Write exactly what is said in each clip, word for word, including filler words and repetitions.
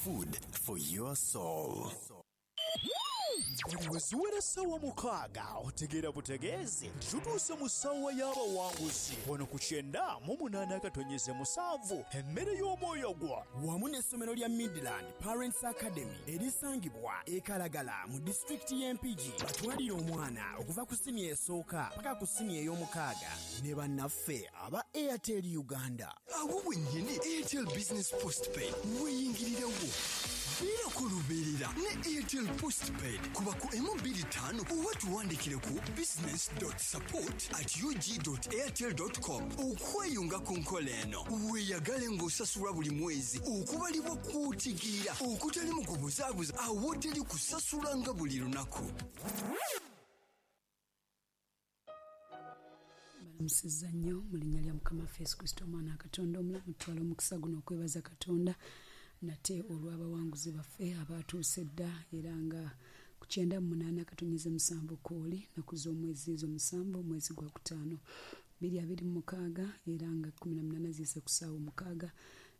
Food for your soul. Buli we ziwera essaawa mukaaga otegeera butegeezi nti tutuuse mu ssaawa y'abawanguzi wano ku kyenda mu munaana akatonyeze musanvu, emmere y'omwoyo gwo. Wamu n'essomero lya Midland Parents Academy erisangibwa e Kalagala mu disitulikiti y'Empigi, batwalire omwana okuva ku siniya esooka paka ku siniya ey'omukaaga ne bannaffe aba Airtel Uganda. Awo wennyini Airtel Business Postpaid weyingirirawo. Beerako lubeerera ne Airtel Postpaid. Kuba ku emu bbiri ttaano oba tuwandikire ku business dot support at U G dot airtel dot com okweyunga ku nkola eno. Weeyagale ng'osasulwa buli mwezi okubalibwa kw'otegeera okutali mu kubuzaabuza, awoteri kusasulanga buli lunaku. Balamusizza nnyo mu linnya lya Mukama waffe Yesu Kristo, Omwana wa Katonda omulamu. Tutwala omukisa guno okwebaza Katonda nate olw'abawanguzi baffe abatuuse edda, era nga ku kyenda mu munaana katonyeze musanvu kwoli nnaku z'omwezi ezo musanvu, omwezi gwa kutaano bbiri abiri mu mukaaga, era nga kkumi na munaana ziyise ku ssaawa omukaaga,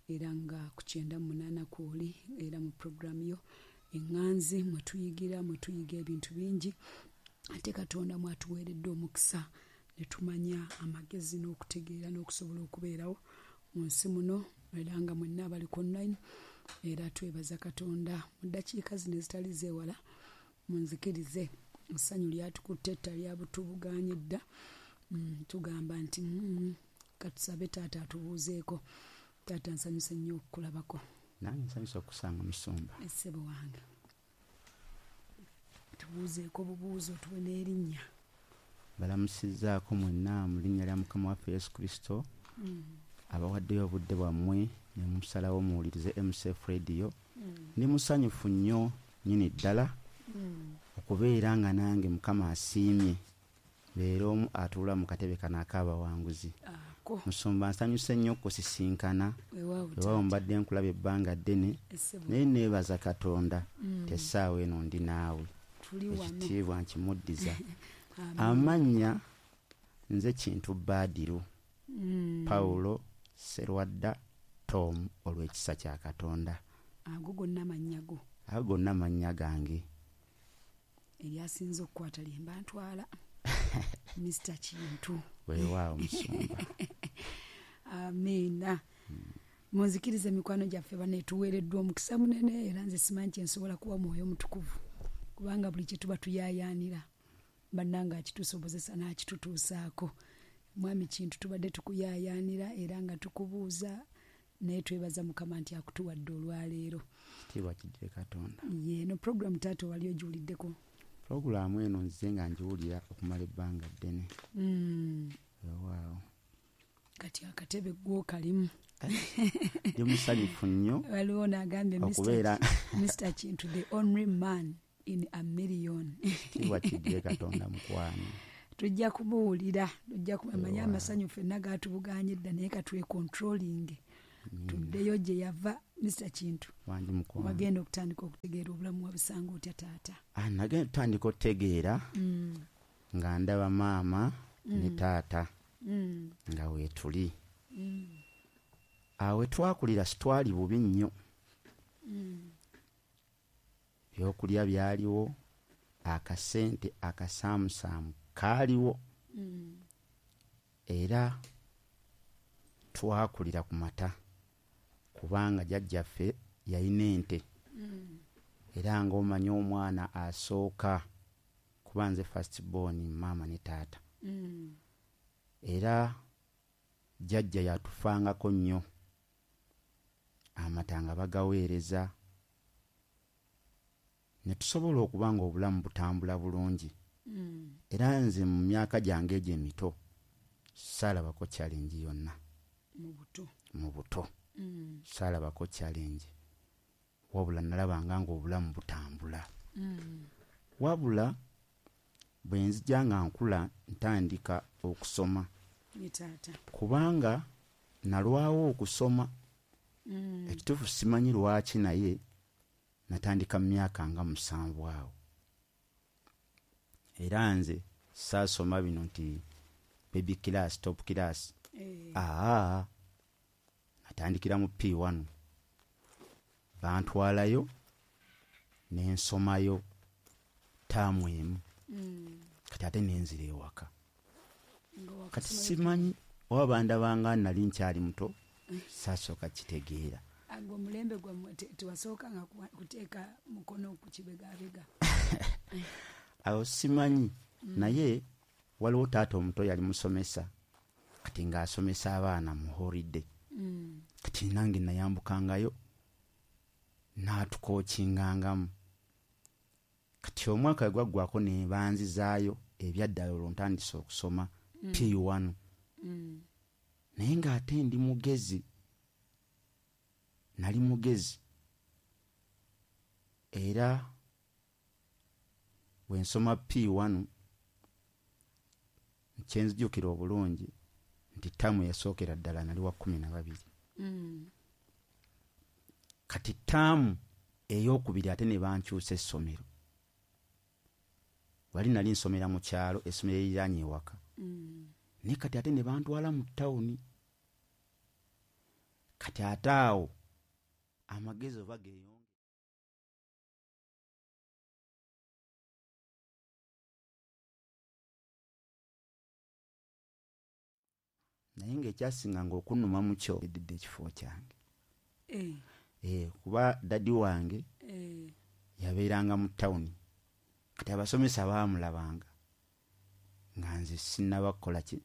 era nga ku kyenda mu munaana kwoli, era mu puroguramu yo eŋŋanzi mwe tuyigira, mwe tuyiga ebintu bingi, ate Katonda mwatuweeredde omukisa ne tumanya amagezi n'okutegeera n'okusobola okubeerawo mu nsi muno, era nga mwenna abali ku online, era twebaza Katonda. Mu ddakiika zino ezitali zeewala, munzikirize, essanyu lyatukutte etta lyabutubuganye dda. mm, tugamba nti mm, katusabe taata atubuuzeeko. Taata, nsanyuse nnyo okukulabako. Nange nsanyusa okusanga, musumba. Essebo wange, tubuuzeeko bubuuzo, tuwe n'erinnya. Balamusizzaako mwenna mu linnya lya Mukama waffe Yesu Kristo, mm. abawaddeyo obudde bwammwe ne musalawo muwulirize M C F Radio. Ndi musanyufu nnyo nnyini ddala Mm. okubeera nga nange Mukama asiimye leero omu atuula mu katebe kano ak'abawanguzi. Ako. Musumba, nsanyuse nnyo okusisinkana. Weewaawo. Weewaawo. Taata. Mbadde nkulaba ebbanga ddene, Essebo. naye neebaza Katonda Mm. tessaawa eno ndi naawe. Tuli wano. Ekitiibwa nkimuddiza. Amen. Amannya nze Kintu Baadiru Mm. Pawulo Serwadda Tom, olw'ekisa kya Katonda. Ago gonna mannya go? Ago gonna mannya gange. Eryasinze okukwata lyemba ntwala, Mister Kintu. Weewaawo, musumba. Amiina. Munzikirize, emikwano gyaffe banetuweereddwa omukisa munene, era nze simanyi kyensobola kuwa Mwoyo Mutukuvu, kubanga buli kye tuba tuyaayaanira, bannanga akitusobozesa n'akitutuusaako. Mwami Kintu, tubadde tukuyaayaanira era nga tukubuuza, naye twebaza Mukama nti akutuwadde olwaleero. Kitiibwa kiddire Katonda. Ye eno puroguramu, taata, wali ogiwuliddeko? Pulogulaamu eno nzize nga ngiwulira okumala ebbanga ddene. Mm. Weewaawo. Kati akatebe gwokalimu. Ndi musanyufu nnyo Waliwo n'agambye okubeera Mister Kintu, the only man in a million. Kitiibwa kiddire Katonda, mukwano. Tujja kumuwulira, tujja kumamanya. Weewaawo. Amasanyu ffenna gatubuganye dda, naye katwecontrolling tuddeyo gye yava. Mister Kintu, Wangi, mukwano. wagenda okutandika okutegeera obulamu wabusanga otya, taata? Ah, nagenda tutandika okutegeera Mm, nga ndaba maama ne taata mm, nga weetuli. mm, Awo we twakulira sitwali bubi nnyo. mm. Byokulya byaliwo, akasente akasaamusaamu kaaliwo, Mm. era twakulira ku mata kubanga jjajjaffe yalina ente. Mm. Era ng'omanyi omwana asooka, kuba nze first born maama ne taata, Mm. era jjajja yatufangako nnyo, amata nga bagaweereza ne tusobola okuba nga obulamu butambula bulungi. Mm. Era nze mu myaka gyange egyo emito saalabako challenge yonna. Mu buto? Mu buto. Mm. Saalabako challenge, wabula nalabanga ng'obulamu butambula. Mm. Wabula bwe nzija nga nkula ntandika okusoma, Ye taata. kubanga nalwawo okusoma. Mm. Ekituufu simanyi lwaki, naye natandika mu myaka nga musanvu awo, era nze saasoma bino nti baby class, top class. Eh. Aa, natandikira mu P one. Bantwalayo nensomayo taamu emu. Mm. Kati ate nenzira ewaka. Nga Kati wakasoma simanyi oba bandabanga nali nkyali muto, saasooka kitegeera. Agwo omulembe gwammwe te- tewasookanga kuwa- kuteeka mukono ku kibegabega. Awo simanyi, naye waliwo taata omuto yali musomesa, kati ng'asomesa abaana mu holiday. Mm. Kati nange nayambukangayo n'atukookingangamu. Kati omwaka bwe gwaggwako ne banzizaayo ebyaddala, olwo ntandise okusoma P one. Mm. Naye ng'ate ndi mugezi, nali mugezi, era bwe nsoma P one kyenzijukira obulungi nti ttaamu yasookera ddala nali wa kkumi na babiri. Mm. Kati ttaamu ey'okubiri ate ne bankyusa essomero. Wali nali nsomera mu kyalo, essomero eriraanye ewaka. Mm. Naye kati ate ne bantwala mu ttawuni. Kati ate awo amagezi oba geeyongera. Naye ng'ekyasinganga okunnuma mu kyo eddidde ekifo kyange. Eh. Eh, kuba daddy wange Eh. yabeeranga mu ttawuni. Kati abasomesa baamulabanga nga nze sinnaba kukola ki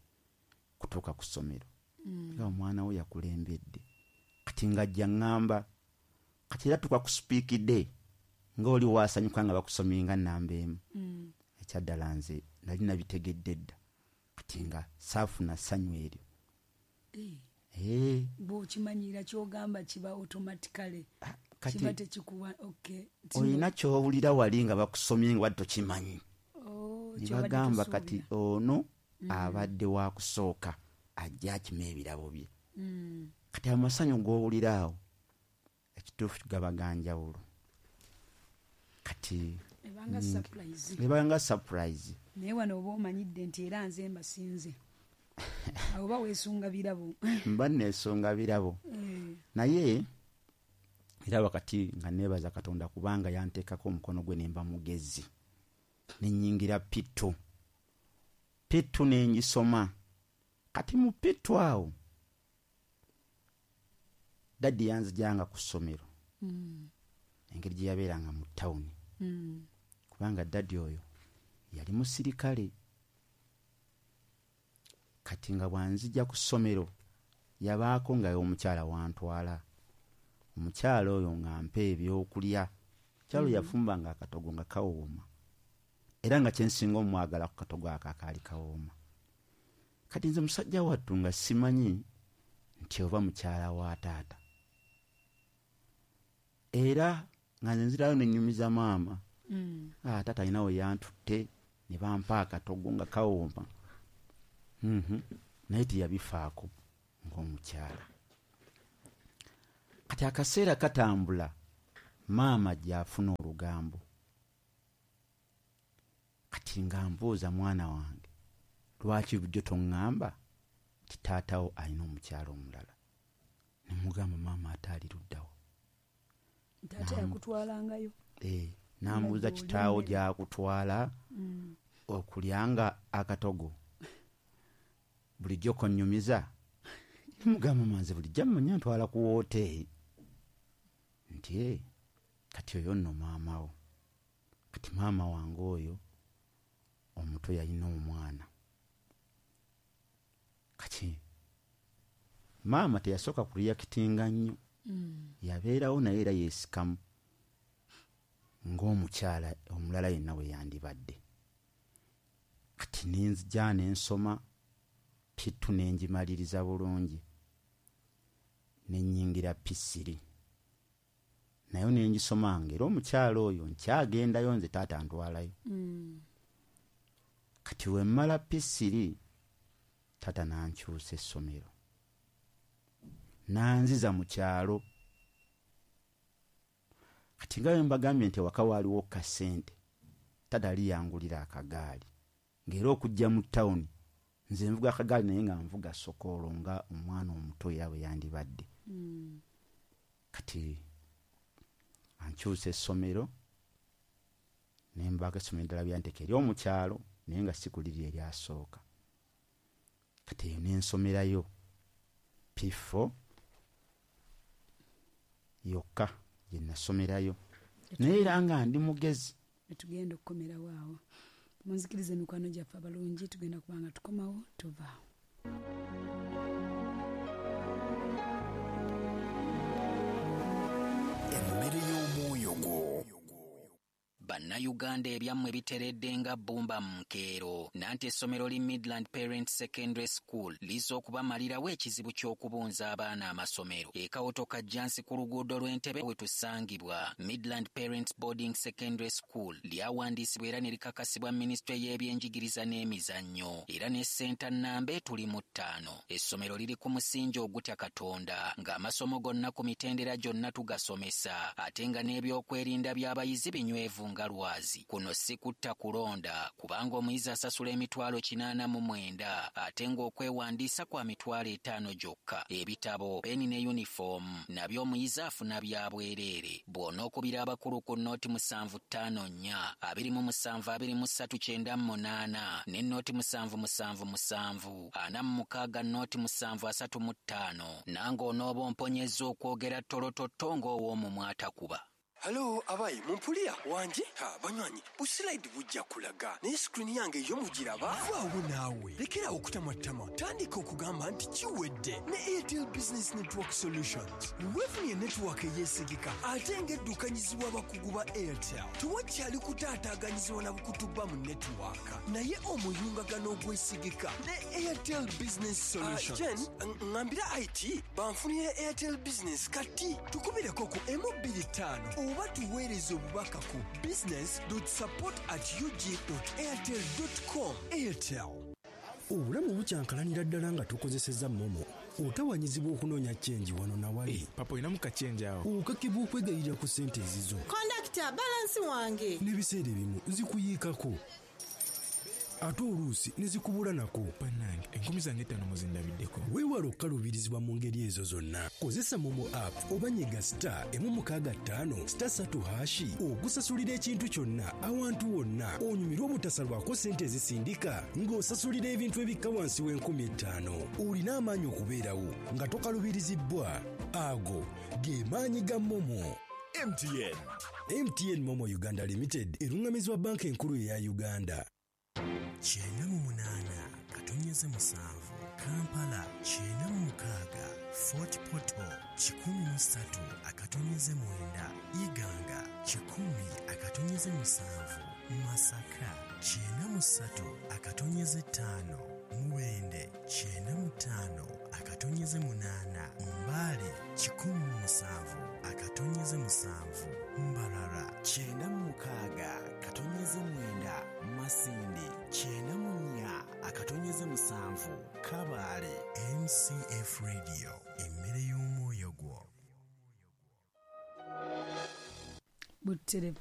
kutuuka ku ssomero. Mm. Nga omwana we yakulembedde. Kati ng'ajja ŋŋamba, kati era tuuka ku speak day ng'oli waasanyuka nga bakusomye nga nnamba emu. Mm. Ekyaddala nze nali nabitegedde dda. Kati nga saafuna ssanyu eryo. Eh. Eh. Bw'okimanyira ky'ogamba kiba automatically. Ah, kati Kiba tekikuwa, okay. olina ky'owulira wali nga bakusomye nga wadde tokimanyi. Oh, Ne ky'obadde bagamba tosuubira. kati ono abadde wa kusooka ajja akima ebirabo bye. Mm. Kati amasanyu g'owulira awo ekituufu gaba ga njawulo. Kati Ebanga surprise. ebanga surprise. Naye wano oba omanyidde nti era nze mbasinze. Awo oba weesunga birabo. Mba neesunga birabo. Eh. Naye era wakati nga neebaza Katonda kubanga yanteekako omukono gwe ne mba mugezi. Ne nnyingira P two. P two ne ngisoma. Kati mu P two awo daddy yanzijanga ku ssomero. Mm. Engeri gye yabeeranga mu ttawuni. Mm. Kubanga daddy oyo yali musirikale. Kati nga bw'anzija ku ssomero yabaako nga omukyala wantwala. Omukyala oyo ng'ampa ebyokulya. Omukyala oyo yafumbanga akatogo nga kawooma. Era nga kye nsinga omwagala ku katogo ako akaali kawooma. Kati nze musajja wattu nga simanyi nti oba mukyala wa taata. Era nga nze nzirayo ne nnyumiza maama. Mm. Ah, taata alina we yantutte ne bampa akatogo nga kawooma. Mhm. Naye teyabifaako ng'omukyala. Kati akaseera katambula, maama gy'afuna olugambo. Kati nga mbuuza mwana wange, lwaki bulijjo toŋŋamba nti taatawo alina omukyala omulala? Ne mugamba maama ate ali luddawa. Taata yakutwalangayo. Eh, n'ambuuza Nga kitaawo gy'oli gy'akutwala Mm. okulyanga akatogo. Bulijjo konnyumiza. Ne mugamba maama nze bulijjo mmanyi ntwala ku wooteeri. Nti eh, kati oyo nno maama wo. Kati maama wange oyo omuto yalina omwana. Kati maama teyasooka kureactinga nnyo. Mm. Yabeerawo naye era yeesikamu ng'omukyala omulala yenna bwe yandibadde. Kati ne nzija ne nsoma P two ne ngimaliriza bulungi. Ne nnyingira P three. Nayo ne ngisomanga era omukyala oyo nkyagendayo nze taata antwalayo. Mm. Kati we mmala P three taata n'ankyusa essomero. N'anziza mu kyalo. Kati nga bwe mbagambye nti ewaka waaliwo kasente, taata yali yangulira akagaali. Ng'era okujja mu ttawuni nze nvuga akagaali naye nga nvuga sokoolo nga omwana omuto era bwe yandibadde. Mm. Kati Nkyusa essomero ne mbaako essomero eddala byanteeka ery'omukyalo naye nga si ku liri eryasooka. Kati eyo ne nsomerayo P four yokka gye nasomerayo naye era nga ndi mugezi. Tugenda okukomerawo awo. Munzikirize mikwano gyaffe abalungi, tugenda kuba nga tukomawo tovaawo. Emmere y'omwoyo gwo. Bannayuganda ebyammwe biteredde nga bbumba mu nkeero. Nanti essomero li Midland Parents Secondary School lizza okubamalirawo ekizibu ky'okubunza abaana amasomero. E Kawoto Kajjansi ku luguudo lw'Entebbe we tusangibwa. Midland Parents Boarding Secondary School lyawandiisibwa era ne likakasibwa minisitule y'ebyenjigiriza n'emizannyo era ne ssenta nnamba etuli mu ttaano. Essomero liri ku musingi ogutya Katonda ng'amasomo gonna ku mitendera gyonna tugasomesa ate nga n'ebyokwerinda by'abayizi binywevu nga lwazi. Kuno si kutta kulonda kubanga omuyizi asasula emitwalo kinaana mu mwenda ate ng'okwewandiisa kwa mitwalo etaano gyokka. Ebitabo, peni ne yunifoomu nabyo omuyizi afuna bya bwereere. Bw'onookubira abakulu ku nnooti musanvu ttaano nnya abiri mu musanvu abiri mu ssatu kyenda mu munaana ne nnooti musanvu musanvu musanvu ana mu mukaaga nnooti musanvu asatu mu ttaano nange onooba omponyezza okwogera ttolototto ng'ow'omumwa atakuba. Halo, abayi, mumpulira wanje? Ha, banywanyi, busilaidi bujja kulaga. Naye screen yange yo mugiraba? Vaawo naawe. Lekera okutamatama. Tandika okugamba nti kiwedde ne Airtel Business Network Solutions. Weefunye network eyeesigika ate ng'eddukanyizibwa abakugu ba Airtel. Tewakyali kutaataaganyizibwa na bukutuba mu network. Naye omuyungagano ogwesigika ne Airtel Business Solutions. Uh, Jen, ŋŋambira I T banfunire Airtel Business kati. Tukubireko ku emu bbiri ttaano oba tuweereze obubaka ku business dot support at u g dot airtel dot com. Airtel. Obulamu bukyankalanira ddala nga tukozesezza MoMo. Otawanyizibwa okunoonya chenji wano na wali. Hey, papa olinamu kachenji awo. Okakibwa okwegayirira ku ssente ezizo. Kondakita, balansi wange. N'ebiseera ebimu zikuyiikako. Ate oluusi ne zikubula nako. Bannange, enkumi zange ttaano muzindabiddeko. Weewale okukaluubirizibwa mu ngeri ezo zonna. Kozesa MoMo app oba nyiga star emu mukaaga ttaano star ssatu hashi okusasulira ekintu kyonna awantu wonna onyumirwe obutasalwako ssente ezisindika ng'osasulira ebintu ebikka wansi w'enkumi ettaano. Olina amaanyi okubeerawo nga tokaluubirizibbwa. Ago ge maanyi ga MoMo. M T N. M T N MoMo Uganda Limited erungamizibwa banka enkulu eya Uganda. Kyenda mu munaana katonyeze musanvu Kampala kyenda mu mukaaga Fort Portal kikumi mu ssatu akatonyeze mwenda Iganga kikumi akatonyeze musanvu Masaka kyenda mu ssatu akatonyeze ttaano Mubende kyenda mu ttaano akatonyeze munaana Mbale kikumi mu musanvu akatonyeze musanvu Mbarara kyenda mu mukaaga katonyeze mwenda Masindi kyenda mu nnya akatonyeze musanvu Kabale. M C F Radio, emmere y'omwoyo gwo. Butere.